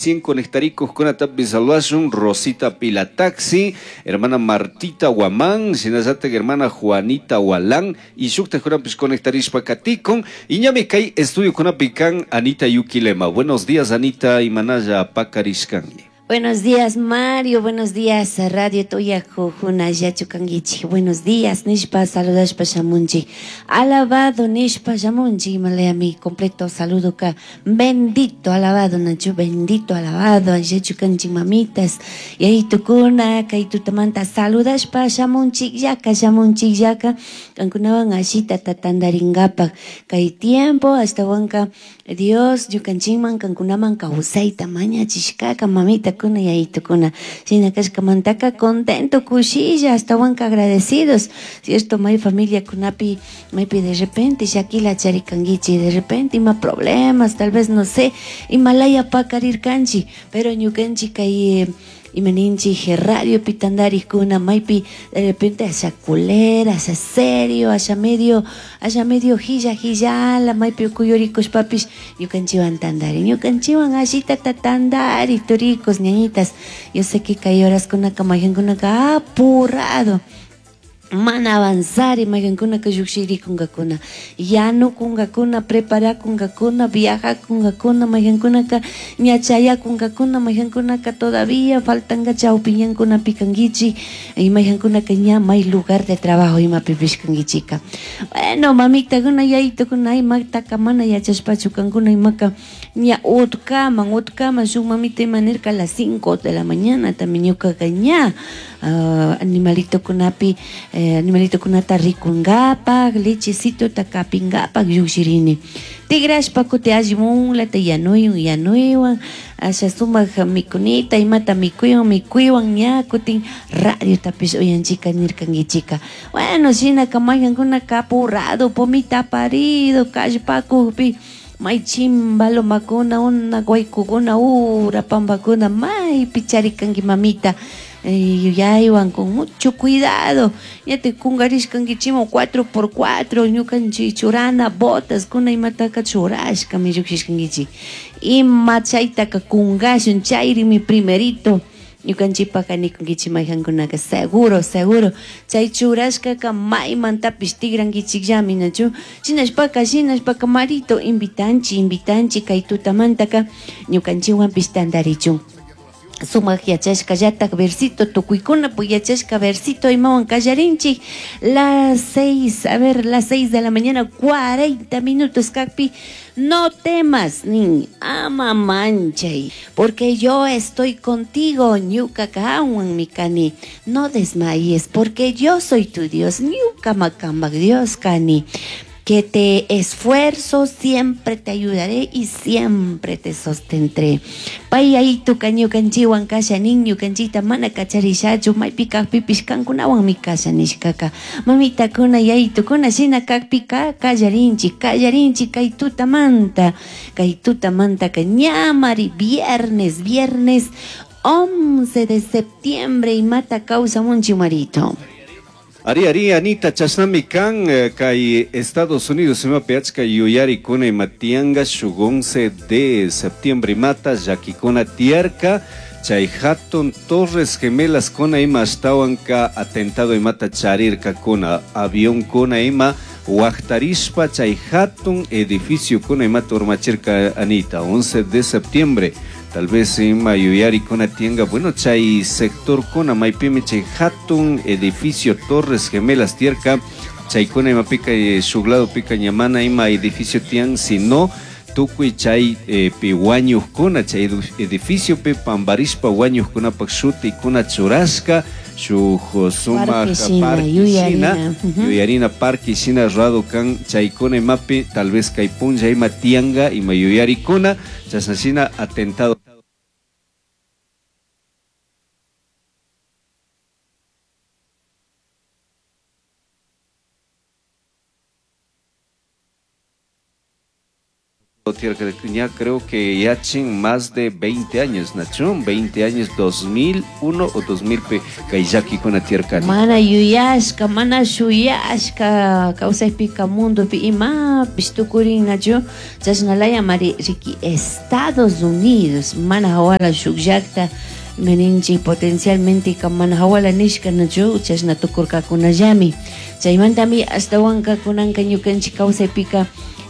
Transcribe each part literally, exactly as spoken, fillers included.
Cien conectaricos saludashun Rosita Pilataxi, hermana Martita Guamán, shinallatak hermana Juanita Walán y shuktakunapish conectarishpa katikun y ñami kay estudio kan Anita Yuquilema. Buenos días, Anita, imanalla pakarishkanki. Buenos días, Mario. Buenos días, Radio Toyaco, Yachu kanguichi. Buenos días, nishpa, saludashpa shamunchi. Alabado, nishpa shamunchi. Malaya mi completo saludo ka. Bendito, alabado, nachu, bendito, alabado. Yachu kanchi mamitas. Yayitukuna, kaytutamanta saludashpa shamunchi, yaka, shamunchi, yaka. Kankunawan ashita tatandaringapak. Kay tiempo, hasta wanka Dios, ñukanchikman, kankunaman kawsayta mañachishkaka, mamita kuna yayitukuna. Shina kashkamantaka contento, kushilla, hasta wanka agradecidos. Cierto, may familia kunapi, maypi de repente shakila charikanguichi, de repente ima problemas, tal vez no sé, imalaya pakarirkanchi, pero ñukanchi kay imaninchi radio pitandarikuna maypi de repente hacia culera, hacia serio, hacia medio, hacia medio hilla hillala, maypi kuyurikush papish, ñukanchiwan tandari, ñukanchiwan ashita tatandari, turicos, ñañitas. Yo sé que kay horas kunaka mayhankunaka apurado. Mana avanzar y mayhankunaka lluqshirikunkakuna, yanukunkakuna, preparakunkakuna, viajakunkakuna, mayhankunaka ñachayakunkakuna, mayhankunaka todavía faltanga chawpiñankunapi kankichik y mayhankunaka ña may lugar de trabajo imapipish kankichika. Bueno, mamitakuna, yayitukuna, imataka mana yachashpachu kankuna imaka ña utkaman, utkaman shuk mamita ima nirka a las cinco de la mañana también ñukaka ña uh, animalitokunapi eh, animalitokunata rikungapak, lechecito takapingapak llukshirini. Tigrashpa kuti allimunlata yanuyun, yanuywan, asha sumak mikunita, imata mikuywan, mikuywan ña kutin radiotapish uyanchika nirkankichika. Bueno, shinaka mayhankunaka apurado, pomita parido, kallpakukpi, may chimba lomakuna, una guaykukuna, ura pampakuna, maypi charikanki mamita. Yuyaywan con mucho cuidado. Ya te kungarishkankichikman cuatro por cuatro, ñukanchik churana, botas, kuna imataka churashkami lluqshishkankichik. Ima chaytaka kunkashun, chayrimi primerito. Ñukanchikpaka nikunkichik mayhankunaka seguro, seguro. Chay churashkaka maymantapish tikrankichikllami, nachu. Shinashpaka, shinashpaka marito, invitanchik, invitanchik kay tutamantaka ñukanchikwanpish tantarichun. Sumak yachashkallatak versito, tukuykuna pues yachashka versito imawan kallarinchik. Las seis, a ver, las seis de la mañana, cuarenta minutos kakpi. No temas, ni ama manchay, porque yo estoy contigo, ñuka kawan mi kani. No desmayes, porque yo soy tu Dios, ñuka makambak Dios kani. Que te esfuerzo, siempre te ayudaré y siempre te sostendré. Pay ahí tu caño canchiwan kasha niño canchita mana kacharishachu maypi kajpipish kankunawan mi kasha nishkaka. Mamita kuna yaytu kuna shina kajpika kallarinchi, kallarinchi kay tutamanta, kay tutamanta ka ñamari viernes, viernes once de septiembre y mata causa munchi marito. Ari, ari, Anita, chashnami kan kay Estados Unidos imapi achka yuyarikuna ima tiyanka shuk once de septiembre imata llakikuna tiyarka chay hatun Torres Gemelas kuna ima ashtawanka atentado imata charirkakuna avión kuna ima waktarishpa chay hatun edificio kuna imata urmachirka Anita, once de septiembre. Tal vez ima yuyarikuna tianga, bueno, chay sector kuna maypimi chay hatun edificio Torres Gemelas tierka, chay kuna ima pika shuk lado pika ñamana ima edificio tian, sino tukuy chay eh, pi wañuqkuna chay edificio pi pambarishpa wañuqkunapak shutikuna churashka shuk sumak parque shina, yuyarina parque shina rurado kan chaykuna imapi tal vez kay punlla ima tianga ima yuyarikuna chashna shina atentado Ya creo que yachin más de veinte años, Nacho, veinte años, dos mil uno o dos mil pe kay llakikuna tiyarkani. Mana yuyashka, mana shuyashka, kawsaypika mundopi imapish tukurin, Nacho, chashnalaya mari riki Estados Unidos, mana hawala shuk llakta, meninchi potencialmente ka mana hawala nishka, Nacho, chashna tukurkakunallami. Chaymantami ashtawanka kunanka ñukanchik kawsaypika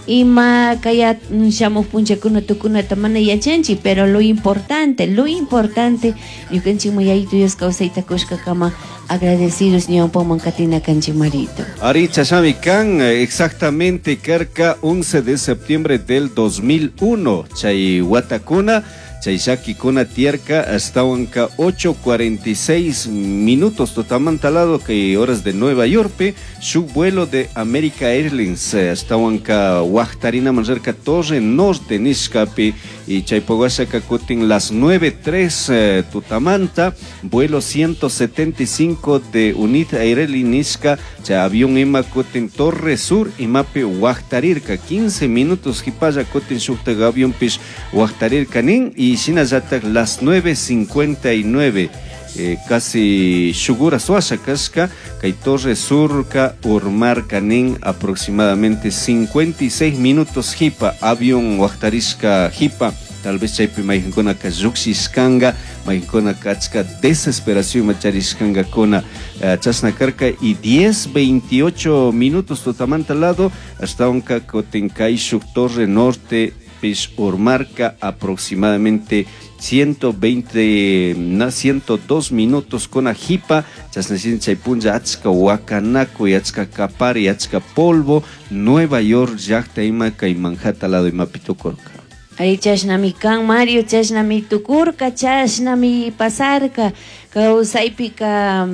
ima kaya shamuq punchakuna tukunata mana yachanchik, pero lo importante, lo importante ñukanchik Yayitu Dios kawsayta kushkakama agradecidos ñawpaman katina kanchik marito. Ari chashami kan exactamente karka once de septiembre del dos mil uno chay watakuna chay llakikuna tiyarka ashtawanka ocho cuarenta y seis minutos totamanta lado que horas de Nueva York su vuelo de America Airlines ashtawanka waqtarina manrarka Torre Norte nishkapi y chaypawashaka kutin las nueve tres eh, tutamanta vuelo ciento setenta y cinco de United Airlines nishka chay avión ima kutin Torre Sur imapi waqtarirka quince minutos hipalla kutin shukta avión pish waqtarirka nin y shinallatak las nueve cincuenta y nueve, eh, casi shugura suasha kashka kay Torre Surka urmarka nin aproximadamente cincuenta y seis minutos hipa avión waqtarishka hipa tal vez chaypi mayqinkunaka lluqshishkanka mayqinkunaka achka desesperación macharishkankakuna, eh, chashna karka y diez veintiocho minutos tutamanta lado ashtawanka kutin kay shuk Torre Norte pish urmarka aproximadamente ciento veinte, na, ciento dos minutos con ajipa, chasnachin chaypunlla achka wakanaku, achka kapari, achka polvo, Nueva York llaqta ima kay Manhattan lado ima pitukurka. Ari chashnami kan Mario, chashnami tukurka, chashnami pasarka, kawsaypika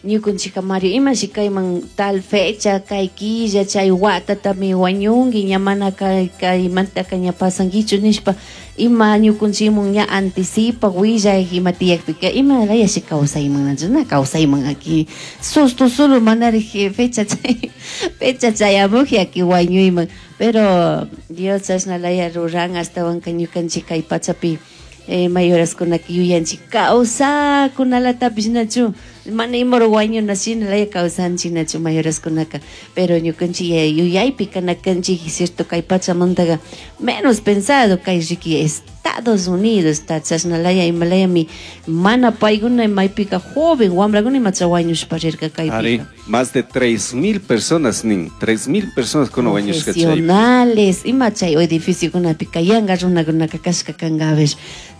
ñukunchika Mario, imashi kayman tal fecha, kay killa, chay watatami wañunki, ña mana kay, kaymantaka ña pasankichu nishpa, ima ñukunchimun ña anticipa, willay, ima tiyakpika, ima layashi kawsayman, nachu, na kawsayman aquí, susto solo manari fecha chay, fecha chayamuji aquí wañuyman, pero Dios chashna laya ruran ashtawanka ñukanchik kay pachapi, eh, mayoraskunaka yuyanchik kawsakunalatapish nachu, mana imoro wañuna shina laya kawsanchik nachu mayoraskunaka, pero ñukanchik yuyaypi kanakanchik cierto kay pachamantaqa menos pensado kay riki Estados Unidos ta chashna laya ima layami mana paykuna maypika joven wamrakuna imacha wañushpa rirka kaypika. Ari, más de tres mil personas nin, tres mil personas kuna wañushka chaypi. Profesionales, ima chay edificiokunapika yanka runakunaka kashka kanka a ver,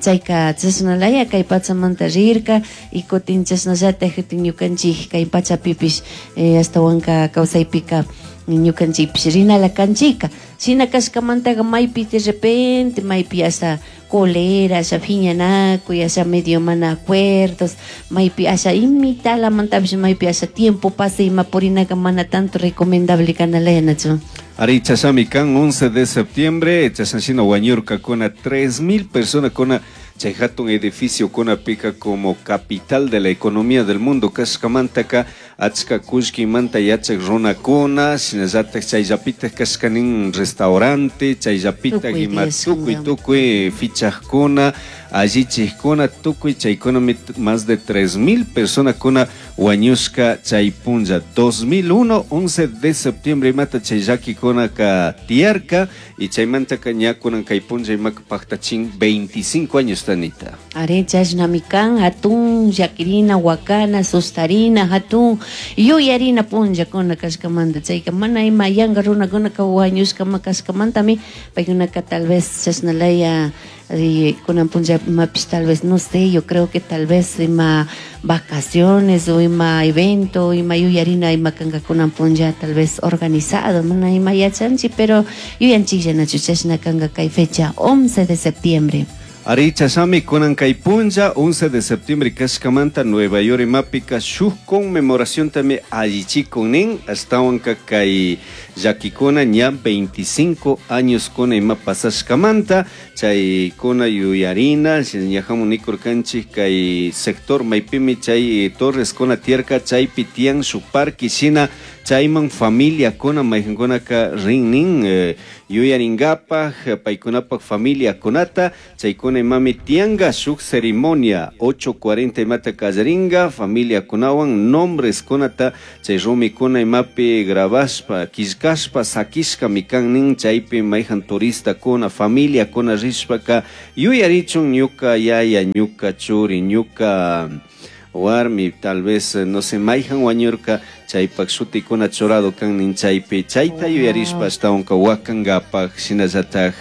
chayka chashna laya kay pachamanta rirka y kutin chashnallataj kutin ñukanchik kay pachapipish, eh, ashtawanka kawsaypika ñukanchikpish rinala kanchika, shina kashkamantaqa maypi de repente maypi hasta cólera, asha phiñanakuy, asha medio mana acuerdos, maypi asha imitalamantapish maypi asha tiempo pasa ima purinaka mana tanto recomendable kanalaya nachu. Ari chashami kan once de septiembre, chashanshina wañurkakuna tres mil personas kuna chay hatun edificio kuna pika como capital de la economía del mundo kashkamantaka achka kullkimanta yachak runakuna shinallatak chayllapitak kashkanin restaurante chayllapitak ima tukuy tukuy fichajkuna allichijkuna tukuy chaykunami más de tres mil personas kuna wañushka chay punlla dos mil uno once de septiembre imata chay llakikunaka tiyarka y chaymantaka ña kunan kay punlla imaka paktachin veinticinco años tanita. Are chashnami kan hatun llakirina wakana sustarina hatun yuyarina punllakuna kashkamanta chayka mana ima yanka runakunaka wañushkama kashkamantami paykunaka tal vez chashnalaya kunan punlla imapish tal vez no sé, yo creo que tal vez ima vacaciones o ima evento ima yuyarina ima kanka kunan punlla tal vez organizado mana ima yachanchi pero yuyanchiklla nachu chashna kanka kay fecha once de septiembre. Ari chashami kunan kay punlla once de septiembre kashkamanta Nueva York imapika shuk conmemoración tami allichikunin ashtawanka kay llakikuna ña veinticinco años kuna ima pasashkamanta chay kuna yuyarina ñajamun nikurkanchik kay sector maypimi chay Torres kuna tierka chaypi tiyan shuk parque shina Chayman familiakuna mayqankunaka rin nin eh, yuyaringapaj paykunapaj familiakunata chaykuna imami tiyanka shuk ceremonia ocho cuarenta imata kallarinka familiakunawan nombreskunata chay rumikuna imapi grabashpa killkashpa sakishkami kan nin chaypi mayqan turistakuna familiakuna rishpaka yuyarichun ñuka yaya ñuka churi ñuka warmi tal vez no sé mayqan wañurka chaypak shutikuna churado kan nin chaypi chayta yuyarishpa ashtawanka wakankapaj shinallataj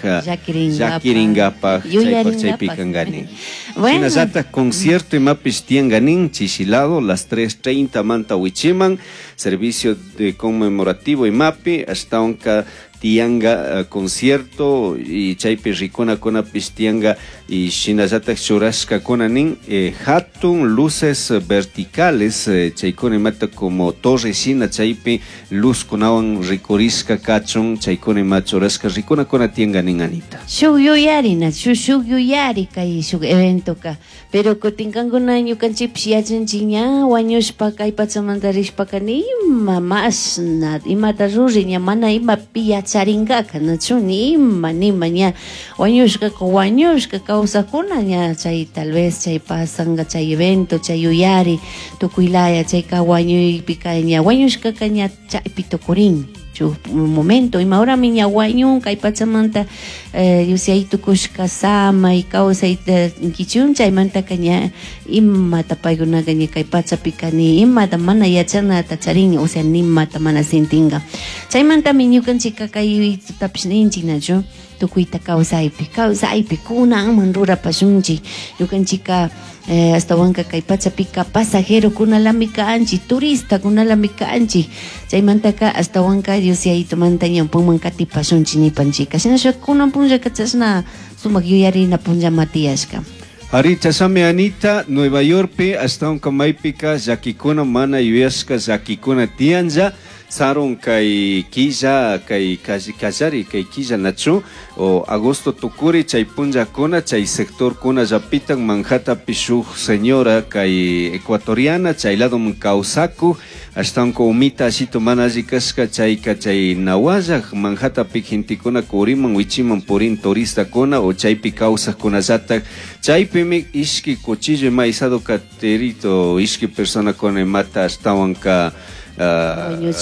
llakiringapaj chaypak chaypi kankani. Shinallataj concierto imapish tiyanka nin chishilado las tres treinta manta wichiman servicio de conmemorativo imapi ashtawanka tiyanka uh, concierto y chaypi rikunakunapish tiyanka y shinallataj churashkakuna nin eh, hatun luces verticales eh, chaykuna imata como torre shina chaypi luzkunawan rikurishka kachun chaykuna ima churashka rikunakuna tiyanka nin Anita. Shuk yuyarina, shuk shuk yuyari kay shuk eventoka, pero kutin kankuna ñukanchikpish yachanchik ña wañushpa kay pachamanta rishpaka nima mashna imata ruri ña mana imapi yacharingaka nachu nima nima ña wañushkaka wañushka kawsakuna ña chay tal vez chay pasanka chay evento chay yuyari tukuylaya chayka wañuypika ña wañushkaka ña chaypi tukurin shuk momento ima horami ña wañun kay pachamanta eh, yusay tukushka samay kawsayta kichun chaymantaka ña imata paykunaka ña kay pachapika ni imata mana yachanata charin o sea nimata mana sintinka chaymantami ñukanchikka kay tutapish ninchik nachu tukuyta kawsaypi kawsaypi kunanman rurapashunchik ñukanchikka eh, astawanka kay pachapika pasajerokunalami kanchik turistakunalami kanchik chaymantaka astawanka Dios yayitumanta ñawpanman katipashunchik nipanchika shinashpa kunan punllaka chashna sumak yuyarina punllama tiyashka. Ari chashami Anita, Nueva Yorkpi ashtawanka maypika llakikuna mana yuyashka llakikuna tiyanlla sarun kay killa kay kallari kay killa nachu o agosto tukuri chay punllakuna chay sectorkuna llapitan Manhattanpi shuk señora kay ecuatoriana chay ladoman kawsakuk ashtawanka umita ashitu mana alli kashka chayka chay nawallak Manhattanpi gentekuna kuriman wichiman purin turistakuna o chaypi kawsakkunallatak chaypimi ishki cuchillo ima isado katerito ishki personakuna imata ashtawanka Uh,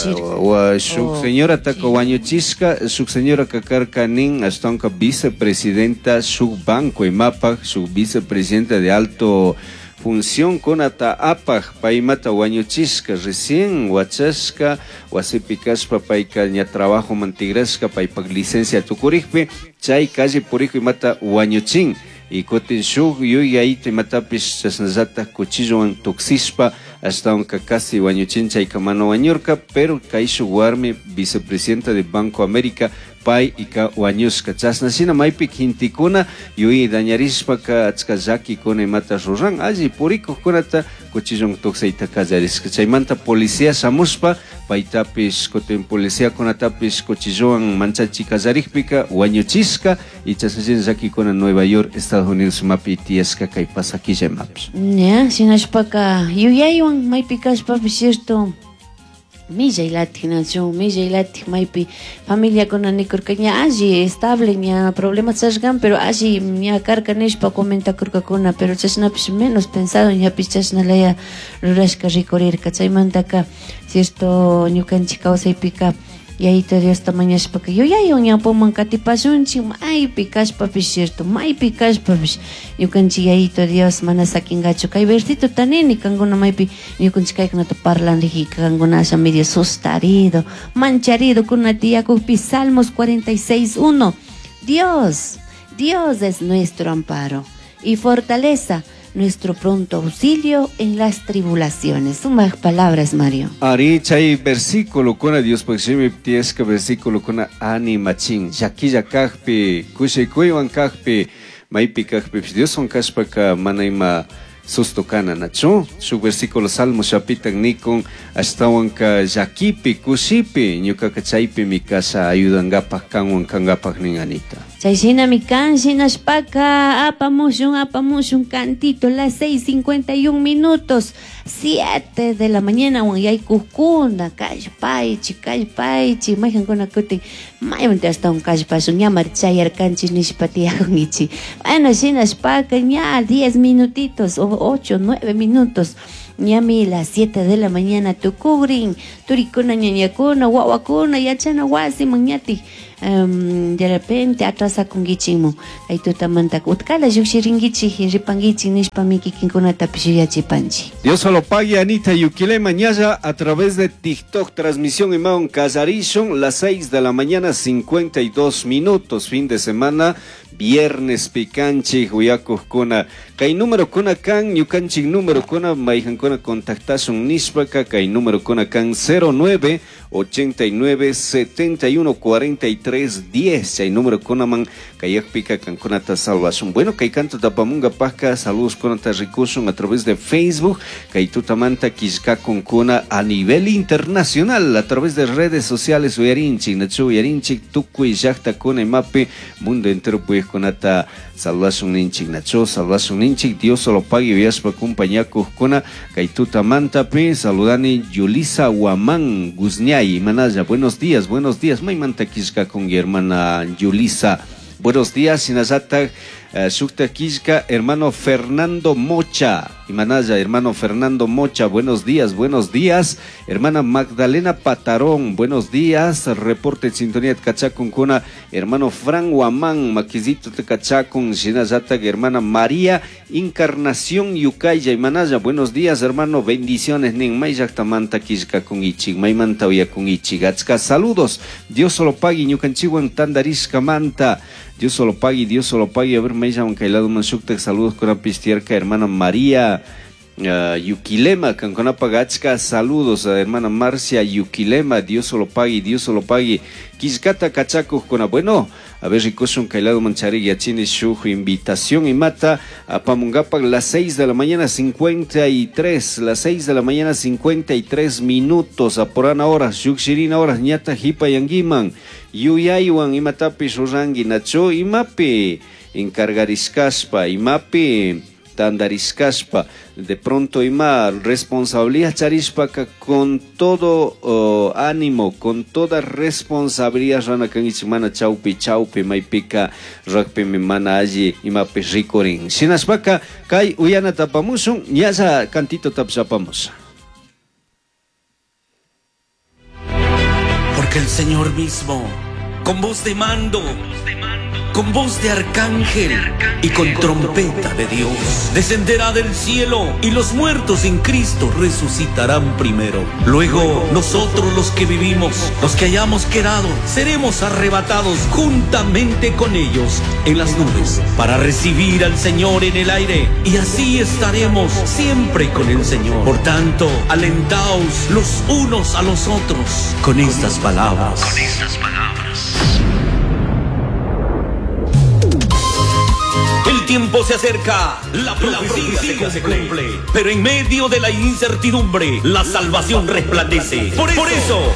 shuk señora taka wañuchishka shuk señora kakarka nin ashtawanka vicepresidenta shuk banco imapaj shuk vicepresidenta de alto función kunata apaj paymata wañuchishka recién wachashka wasipi kashpa payka ña trabajo mantigrashka paypak licencia tukurikpi chay calle puriku imata wañuchin y kutin shuk yuyayta imatapish chashnallataj cuchillowan tuksishpa ashtawanka casi wañuchin chayka mana wañurka pero kay shuk warmi vicepresidenta de Banco América pay ika wañushka chashna shina maypi gentekuna yuyi dañarishpaka achka llakikuna imata ruran alli purikukkunata cuchillon tuksayta kallarishka chaymanta policía shamushpa paytapish kutin policiakunatapish cuchillowan manchachi kallarikpika wañuchishka y chashna shina llakikuna Nueva York Estados Unidos imapi tiyashka kay pasakilla imapish. Ña shinashpaka yuyaywan maypi kashpapish cierto millay latik nachu millay latik maypi familiakuna nikurka ña alli estable ña problemas chashkan pero alli ña karka nishpa comentakurkakuna pero chashnapish menos pensado ñapish chashnalaya rurashka rikurirka chaymantaka cierto ñukanchik kawsaypika Yayito Diosta mañashpaka yuyaywan ñawpaman katipashunchik maypi kashpapish cierto maypi kashpapish ñukanchik Yayito Dios mana sakinkachu kay versito nini kankuna maypi ñukanchik kaykunata parlanrijika kankuna asha medio sustarido mancharido kuna tiyakukpi Salmos cuarenta y seis uno Dios, Dios es nuestro amparo y fortaleza, nuestro pronto auxilio en las tribulaciones. Sumas palabras, Mario. Ari, chay versículo kuna Dios pakshimi tiyashka versículo kuna animachin. Llakilla kajpi, kushikuywan kajpi, maypi kajpi, Dioswan kashpaka mana ima susto kana nachu. Shuk versículo Salmo shapitan nikun ashtawanka llakipi, kushipi, ñukaka chaypi mi kasha ayudankapaj kanwan kankapaj nin Anita. Chay shinami kan shinashpaka apamushun apamushun cantito las seis cincuenta y un minutos siete de la mañana wan yaykukuna kallpaychi kallpaychi mayhankuna kutin maymanta ashtawan kallpashun ña marchayarkanchik nishpa tiyakunkichik. Bueno, shinashpaka ña diez minutitos o ocho, nueve minutos ñami las siete de la mañana tukugrin turikuna ñañakuna wawakuna yachana wasiman ñatik um, de repente atrasakunkichikmun kay tutamanta utkala llukshirinkichik ripankichik nishpami kikinkunatapish yuyachipanchik. Dios lo pague, Anita Yuquilema ñalla a través de TikTok, transmisión imaun kallarishun las seis de la mañana cincuenta y dos minutos, fin de semana, viernes picanchik uyakujkuna kay número kuna kan ñukanchik número kuna mayhankuna contactashun nishpaka kay número kuna kan cero nueve ochenta y nueve setenta y uno cuarenta y tres diez chay número kunaman kayakpika kankunata salvashun. Bueno, kay kanto tapamunga pajka saludos kunata rikushun a través de Facebook kay tutamanta killkakunkuna a nivel internacional a través de redes sociales uyarinchik nachu uyarinchik tukuy llaqtakuna imapi mundo entero kunata salvashun ninchik nacho salvashun ninchik Dios solo pague uyashpa kumpañakuqkuna kay tutamantapi saludani Yulisa Guamán Guzñay manaya buenos días buenos días maymanta killkakun hermana Yulisa buenos días shinallatak uh, shukta killka hermano Fernando Mocha Imanaya, hermano Fernando Mocha, buenos días, buenos días. Hermana Magdalena Patarón, buenos días. Reporte sintonía Tcachacun kuna, hermano Fran Guamán, Maquisito Tcachacun, Shinayata, hermana María Encarnación Yucaya, Imanaya, buenos días, hermano, bendiciones, nin mayllaqtamanta killkakun ichik, maymanta uyakun ichik, achka saludos. Dios solo pague, ñukanchiwan tandarishkamanta. Dios solo pague, Dios solo pague. A ver, mayllawan kaylado manshuktak saludos con pistierka, hermana María uh, Yuquilema, Canconapa saludos a hermana Marcia Yuquilema, Dios solo pague, Dios solo pague. Quiscata Cachaco con bueno, a ver, rikushun kaylado manchari yachini shuj invitación y mata a Pamungapac las seis de la mañana cincuenta y tres, las seis de la mañana cincuenta y tres minutos, a porana horas, shukshirina horas, ñata jipa yanguiman, yuyaywan imatapi shurangi nacho imapi encargarishkashpa imapi tandarishkashpa de pronto ima responsabilidad charishpaka con todo oh, ánimo, con toda responsabilidad rana kangichik mana chaupi chaupi maypika rakpimi mana alli imapi rikurin shinashpaka kay uyana tapamushun ñalla cantito tapshapamush. Porque el Señor mismo con voz de mando, con voz de arcángel y con trompeta de Dios, descenderá del cielo y los muertos en Cristo resucitarán primero. Luego nosotros los que vivimos, los que hayamos quedado, seremos arrebatados juntamente con ellos en las nubes para recibir al Señor en el aire, y así estaremos siempre con el Señor. Por tanto, alentaos los unos a los otros con estas palabras. Con estas palabras. El tiempo se acerca, la profecía, la profecía se cumple, pero en medio de la incertidumbre, la salvación resplandece. Por eso, Por eso